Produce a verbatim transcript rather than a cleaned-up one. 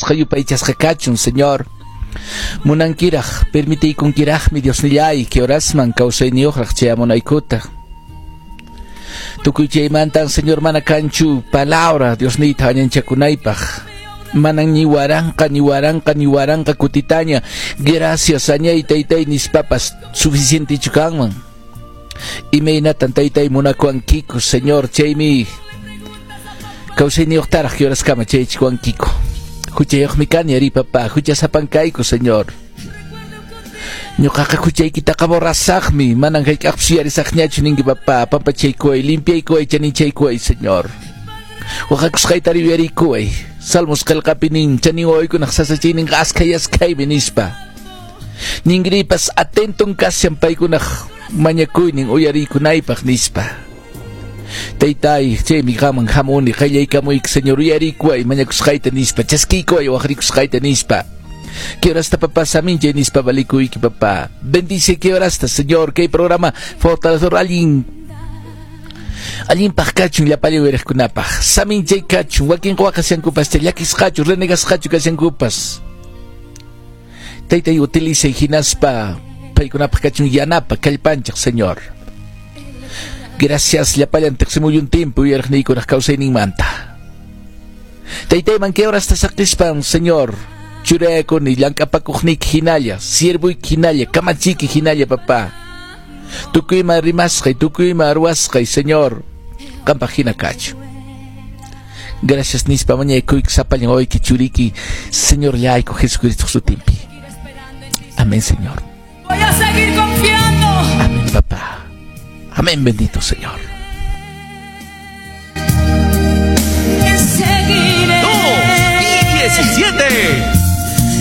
alabasqa yupaychasqa kachun, Señor. Munankiraq, permitiykunkiraqmi Diosnillay, kay horasman kawsayniyuqraq chayamunaykuta. Tukuy chaymantan, Señor, mana kanchu palabra Diosniyta añanchakunaypaq. Manan ni waranqa, ni waranqa, ni waranqa kutitaña. Gracias, añay taytay nispapas suficientechu kanman. Imaynatan taytay munakuwankiku, Señor, chaymi kawsayniyuqtaraq kay horaskama chayachikuwankiku. Huchayuqmi kani ari, papá, huchasapan kayku, Señor. Ñuqaqa huchaykitaqa borrasaqmi, manan hayk'aqpis yuyarisaqñachu ninki, papá, pampachaykuway, limpiaykuway, chaninchaykuway, Señor. Waqakusqayta yuyariykuway. Salmos qillqapi nin, chanin wawaykunaq sasachayninqa askhay askhaymi nispa. Ningripas atenton kashan paykunaq mañakuynin uyariykunaypaq nispa. Taytay, chaymi qaman hamuni, qayllaykamuyki, Señor, uyariykuway mañakusqayta nispa, chaskiykuway waqrikusqayta nispa. Kay horasta, papá, saminchay nispa valikuyki, papá. Bendice kay horasta, Señor, kay programa fortalecedor allin allinpaq kachun llapallan uyariqkunapaq. Saminchay kachun, wakin waqashankupas, llakisqachu, renegasqachu kashankupas. Taytay utilicay hinaspa paykunapaq kachun yanapa kallpanchaq, Señor. Gracias llapallan tiqsimuyuntinpi uyariqniykunaq kawsayninmanta. Taytayman kay horasta saqispan, Señor, churaykuni llank'apakuqniyki hinalla, siervuyki hinalla, kamachiyki hinalla, papá. Tukuyma rimasqay, tukuyma ruwasqay, Señor, qampaq hina kachun. Gracias nispa mañaykuyki sapallan wawayki churiki, Señor llayku Jesucristo sutinpi. Amén, Señor. Voy a seguir confiando. Amén, papá. Amén, bendito Señor. Seguiré. Dos y diecisiete.